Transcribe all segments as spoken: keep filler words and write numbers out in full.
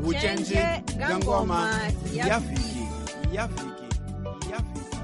Vucenje bya ngoma ya vhiki ya vhiki ya vhiki.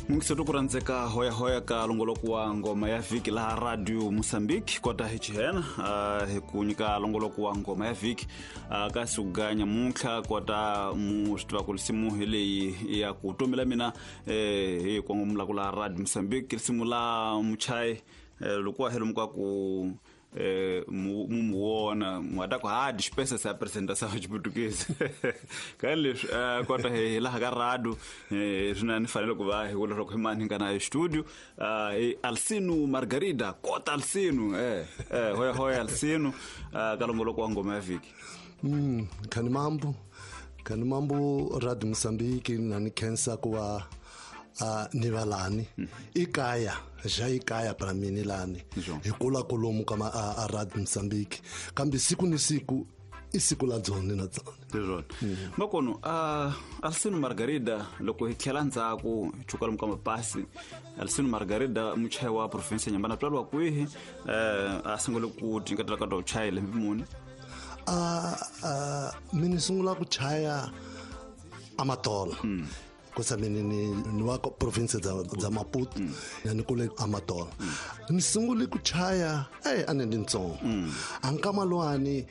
Mungiseto ku rhandzeka hoyahoya ka longoloko wa ngoma ya vhiki laha Radio Mozambique kota hi chihena uh, hi ku nyika longoloko wa ngoma ya vhiki uh, ka suganya muntlha kota mu swi tiva ku risimu hi leyi ya ku tomela mina eh, hi kongomula ku laha Radio Mozambique risimu la muchai eh, loko wa helo ku eh mu muona mwata ku ha dispensa essa apresentação de português ka leswi kota hi laha ka radio eh swina ni fanele ku va hi vula loko hi mani nga na studio eh Alcino Margarida kota Alcino eh eh hoya hoya Alcino ka longoloko wa ngoma ya vhiki. Mm khani mambo khani mambo Radio Mozambique na ni khensa ku va a ni valani ikaya ja ikaya para mini lani hi kula kolomu kama a Radio Mozambique kambe siku ni siku isiku la dzone na dzone lezona makono a Alcino Margarida loko hi tlhela ndzhaku chuka lomu ka mapasi Alcino Margarida muchayi wa province Nyambana twalwa kwihi eh a sungule ku tinkatela ka to chaya lembe muni a a mini sungula ku chaya amatola kusa mini ni ni wa province dza dza Maputo ya ni kule Amatola ni sungule ku chaya eh ane ndi ntsongo ankamalwani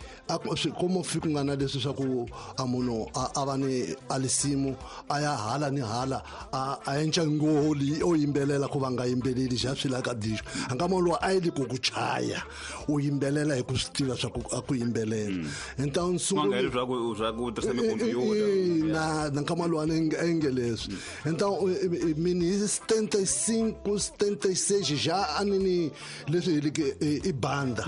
como fiku ngana leswi swa ku amuno a va ni alisimu aya hala ni hala a a encha ngoli o yimbelela ku va nga yimbeleli ja swi la ka disco ankamalwa a yi ku ku chaya u yimbelela hi ku swi tiva swa ku a ku yimbelela então sungule swa ku swa ku tirhisa computer na nkamalwani engele. Então, mini setenta e cinco, setenta e seis já anini leswi hi banda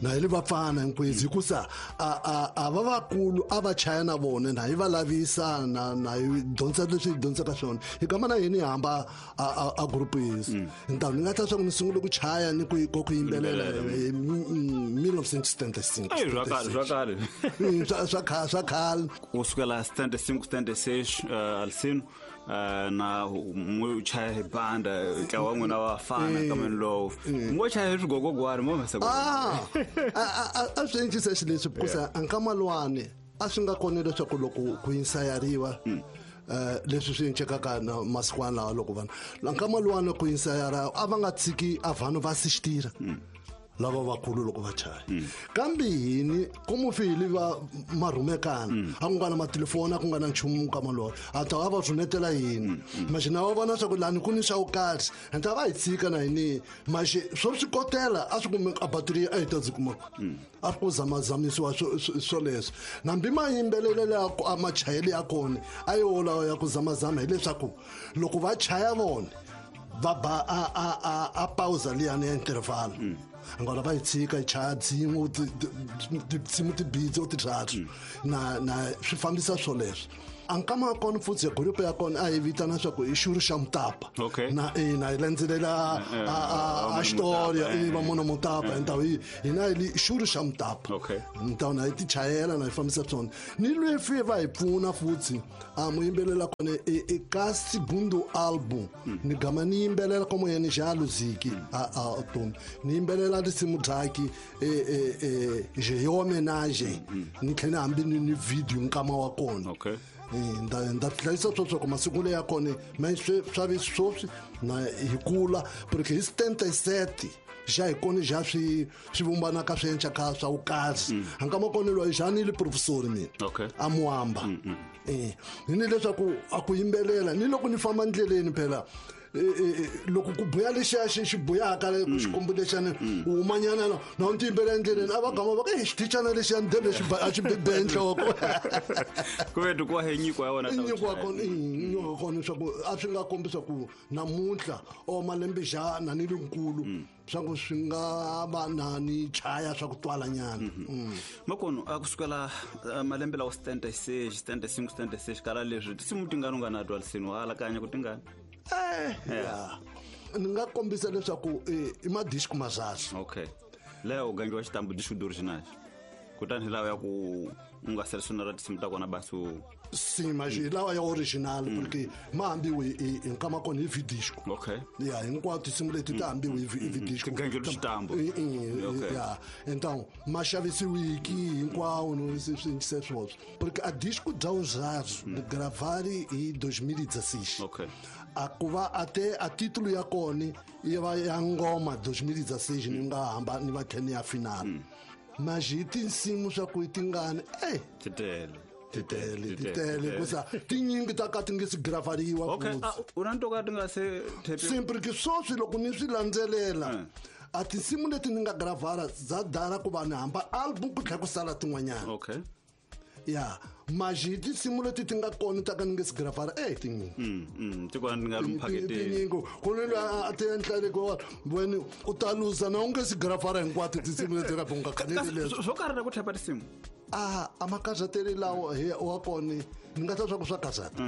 na hi vafana hinkwezi hikusa a a va vakulu a va chaya na vona na hi va lavisa na na hi dyondza leswi hi dyondzaka swona hi kama na yini hamba a a group yisi. Então ni nga ta swa ku ni sungule ku chaya ni ku ku yimbelela mil novecentos e setenta e cinco. Ai swa khale swa khale swa khale swa khale ku sukela setenta e cinco setenta e seis Alcino na mu chaya hi banda ntlawa wa n'wina wa fana kambe lowu ngo chaya hi swigogogwani mo masa ah a swi endlisa xileswi because ankamalwani a swi nga kona leswaku loko ku insayariwa eh leswi swi encekaka na masikwana lawa loko vanhu ankamalwani ku insayara a va nga tshiki a vanhu va assistira lava vakulu loko va chaya kambe hini como fili va marhumekana a ku nga na matelefoni a ku nga na nchumu ka malolo a ta va rhumetela yini manje na va vona swa ku lani ku ni swa ku kahle enta va hi tshika na hini manje swo swi kotela a swi kume a battery a hi ta dzi kuma a ku zamazamisiwa swo leswo nambi mayimbelelelo ya a machayele ya kona a yo lawa ya ku zamazama hileswaku loko va chaya vona va ba a a a a pausa liyani ya interval ngona va yi tshika yi chaya dzin'we tinsimu tibitsi o tithathu na na swi fambisa swoleswo ankama kona futhi group ya kona a yi vitana swa ku i xuru xa mutapa na eh na yi landzelela a story i va mona mutapa então hi hina hi xuru xa mutapa então na yi ti chayela na yi fambisa swona ni lwefi va hi pfuna futhi a mu yimbelela kona e ka segundo album ni gama ni yimbelela como yena já luziki a a tom ni yimbelela risimu dzaki e e e homenagem ni tlhela hambi ni ni video nkama wa kona okay nda nda hlayisa sweswo ku masiku leya kona ma swi sweswi na hi kula porque hi setenta e sete já hi kona já swi swi vumbanaka swi enca ka swa vukahle ankama kona loyi já ni le professor mina okay a muamba eh ni leswaku a ku yimbelela ni loko ni famba ndleleni phela loko ku buya lexiya xi xi buyaka ku xikombo lexiyani u humanyana na na u tiyimbela endleleni a va gama va ka xitichana lexiya ndele xi a xi bebe enhloko ku ve ku wa nyiko ya wona nyiko wa kona nyiko wa kona swa ku a swi nga kombisa ku namuntlha o malembe xana ni lenkulu swa ku swi nga va na ni chaya swa ku twala nyana makono a ku sukela malembe lawa setenta e seis setenta e cinco setenta e seis kala leswi tinsimu tingani u nga na twa lisini wa alakanya ku tingani eh ya ni nga kombisa leswaku i madisco mazazi okay leyo gangiwa xitambu disco original Kutani lawa ya ku u nga selecionar tinsimu ta kona basi u Sim, mas mm. lawa ya original mm. porque ma hambiwe hi nkama kona hi vidisco. Okay. Ya hinkwato tinsimu leti ta hambiwe hi vidisco. Tingangelo xitambo. Ya, então ma xavisiwiki hinkwawo no swi sweswo. Porque a disco já usados mm. gravar em dois mil e dezesseis. Okay. A ku va até a título ya kona yi va ya ngoma dois mil e dezesseis ni nga hamba ni va tlhela ya final. Mm. Mas hi tinsimu swa ku tingani eh titele titele titele kusa tinyingi ta ka ti nge si gravariwa. Okay, u na ntoka ti nga se sempre que sweswi loko ni swi landzelela a tinsimu leti ni nga gravara za dala ku va ni hamba album ku tlhela ku sala tin'wanyana. Okay. Ya, mas hi tinsimu leti ti nga kona ta ka ni nge si gravara eh tinyingi. Mm mm ti kona ni nga ri mphaketeni. Tinyingi ku ni a ti endla le ko wena u ta luza na u nge si gravara hinkwato tinsimu leti ka bunga khanele leswi. Swo karhi na ku thepa tinsimu. Ah, a makazateli lawo hi wa kona ni nga ta swa ku swa kazata.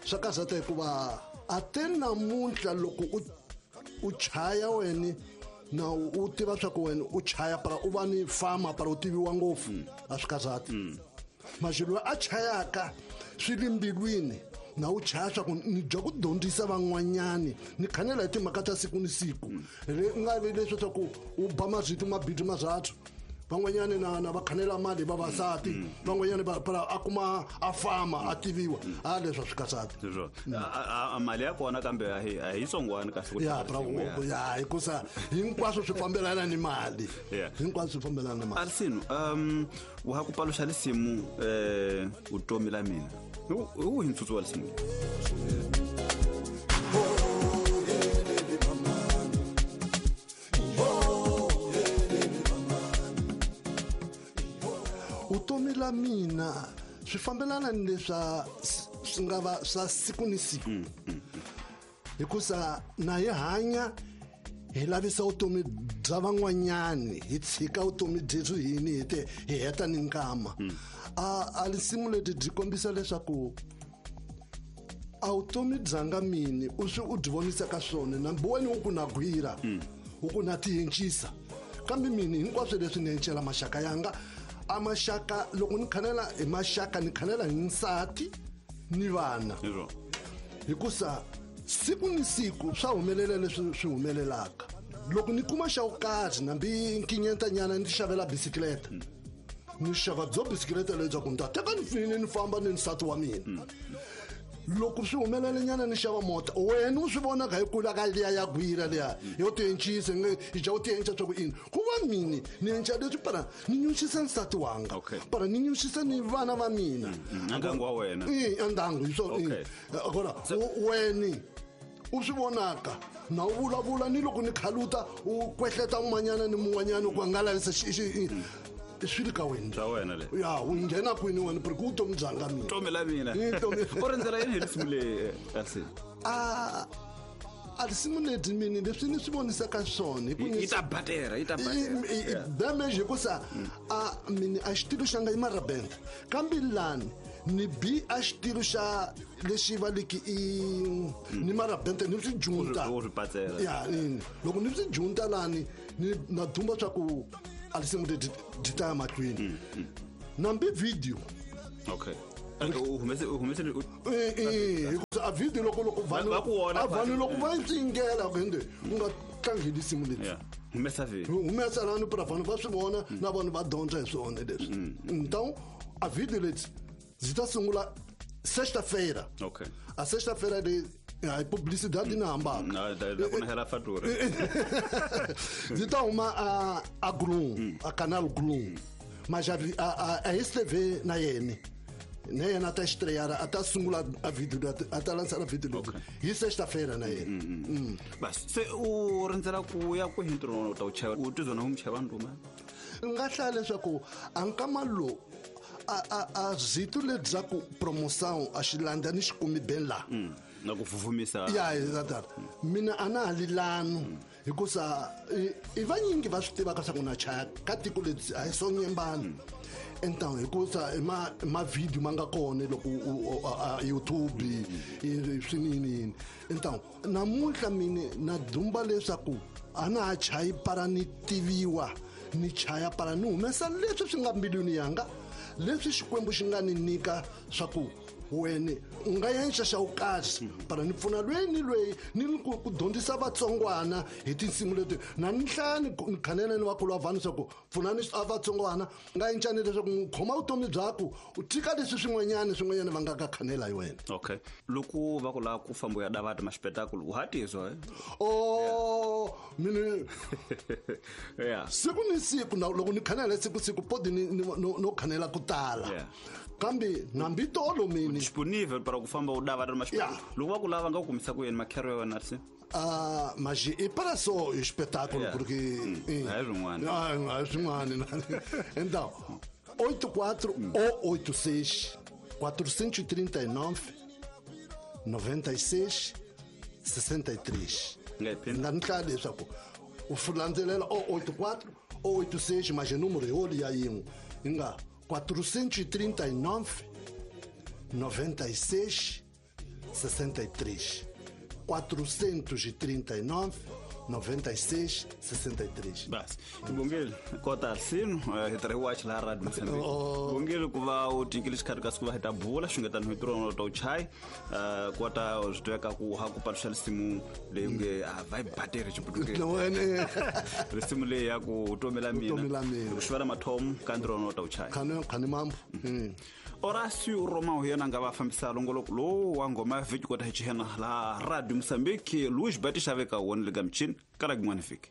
Swa kazata hikuva a te namuntlha loko u u chaya wena na u tiva swa ku wena u chaya para u va ni fama para u tiviwa ngopfu a swi kazata. Mas loyi a chayaka swi le mbilwini na u chaya swa ku ni dya ku dyondzisa van'wanyani ni khanela hi timhaka ta siku ni siku le u nga vi leswi swa ku u ba mazwiti mabidi mazathu van'wanyani na na va khanela mali vavasati van'wanyani va a kuma a fama a tiviwa a leswi a swi katsati a mali ya kona kambe a hi a hi tsongwani kahle ku ya bravo ya hikusa hinkwaswo swi fambelana ni mali hinkwaswo swi fambelana ni mali. Arsino um wa ha ku paluxa lisimu eh utomi la mina u hi ntsutsu wa lisimu. Utomi la mina swi fambelana ni leswa swi nga va swa siku ni siku hikusa na hi hanya hi lavisa vutomi bya van'wanyani hi tshika vutomi byebyo hini hi te hi heta ni nkama. A a lisimu leti byi kombisa leswaku a vutomi bya nga mini u swi u byi vonisa ka swona nambi wena u ku na gwira u ku na tiyencisa kambe mini hinkwaswo leswi ni encela maxaka yanga a maxaka loko ni khanela hi maxaka ni khanela hi nsati ni vana hikusa siku ni siku swa humelela leswi swi humelelaka loko ni kuma xa ku karhi nambi nkinyentanyana ni xavela bisikleta ni xava byo bisikleta leyi bya ku ni ta teka ni fini ni famba ni nsati wa mina loko swi humelelenyana ni xava mota wena u swi vonaka hi kula ka liya ya gwira liya yo tiencisa i dya u tienca swa ku ini ku va mini ni enca leswi para ni nyuxisa nsati wanga para ni nyuxisa ni vana va mina ndyangu wa wena i ndyangu hi swona kona weni u swi vonaka na u vulavula ni loko ni khaluta u kwehleta un'wanyana ni mun'wanyana ku nga lavisa swi ri ka wena swa wena le ya u nghena kwini wena porque vutomi bya nga mina vutomi la mina u rindzela yini hi lisimu leyi Arsino? A a lisimu leti mini leswi ni swi vonisaka swona yi ta batera yi ta batera damage hikusa a mini a xitilo xa nga i marabenda kambe lani ni bi a xitilo xa lexi va liki i ni marabenda ni swi junta ya loko ni swi junta lani ni na dumba swa ku a lisimu leti di ta ya mahlweni nambi video. Okay. U humese u humese hikusa a video loko loko vanhu a vanhu loko va yi tsingela ku u nga tlangi lisimu leti humesa video humesa lani para vanhu va swi vona na vanhu va dyondza hi swona leswi então a video leti byi ta sungula sexta-feira. Okay. A sexta-feira leyi a publicidade na hambaka na ku hela fatura byi ta huma a a Gloom a Canal Gloom mas a a a S T V na yena na yena ta estrear a ta sungula a video a ta lançar a video hi sexta-feira na yena. Bas se u rindzela ku ya kwihi ntirho u ta u chava u tizona u muchava nduma nga hlaya leswaku a nkama lowu a a a zito lebyaku promoção a xilanda ni xikumi ben la na ku fufumisa ya exato mina a na ha lilano hikusa i vanyingi va swi tivaka swa ku na chaya ka tiko lebyi a hi sonyembani então hikusa i ma ma video ma nga kona loko YouTube swinini então namuntlha mini na dumba leswaku a na ha chayi para ni tiviwa Ni chaya para ni humesa leswi swi nga mbilwini yanga leswi Xikwembu xi nga ni nyika swa ku wena u nga yenxa xa wukahle para ni pfuna lweyi ni lweyi ni ku ku dyondzisa vatsongwana hi tinsimu leti na ni hlaya ni khanela ni vakulu va vanhu swa ku pfunani a vatsongwana nga encani leswaku n'wi khoma vutomi byaku u tika leswi swin'wanyana swin'wanyana va nga ka khanela hi wena. Okay, loko va ku lava ku famba u ya davata maxipetakulu u hatizwa eh? Oh, mini yeah. Siku ni siku na loko ni khanela siku siku podi ni no, no khanela ku tala. Yeah. Kambe nambi tolo mini disponível para ku famba u davata maxipetakulu. Yeah. Loko va ku lava nga ku kumisa ku yini makhero ya wena se? Ah, mas e para só o espetáculo, Yeah. porque Hum, é swin'wana. Ah, é swin'wana. Então, oito quatro ou oito seis quatrocentos e trinta e nove noventa e seis sessenta e três. Nga yi phinda. Nga ni hlaya leswaku u landzelela o oito quatro ou oito seis, mas o número é olho ya yin'we. Yi nga quatrocentos e trinta e nove noventa e seis sessenta e três. quatrocentos e trinta e nove noventa e seis sessenta e três. Basi Bongile kota sino hi tirhi watch laha Radio Mozambique. Oh. Bongile ku va u tinkile xikhati ka siku va hi ta bula xungetani hi tirhona ta u chai kota swi tiveka ku ha ku paluxa risimu leyi nge a va yi bateri xiputukezi. No, ene. Risimu leyi ya ku vutomi la mina. Vutomi la mina. Ku xivela mathomo ka ntirho ta u chai. Khane khane mambo. Mm. Horácio Romão hi yena a nga va fambisa longoloko lowu wa ngoma ya vhiki kota hi xihena laha Radio Mozambique. Luís Batista veka wona le ka michini kala kun'wana vhiki.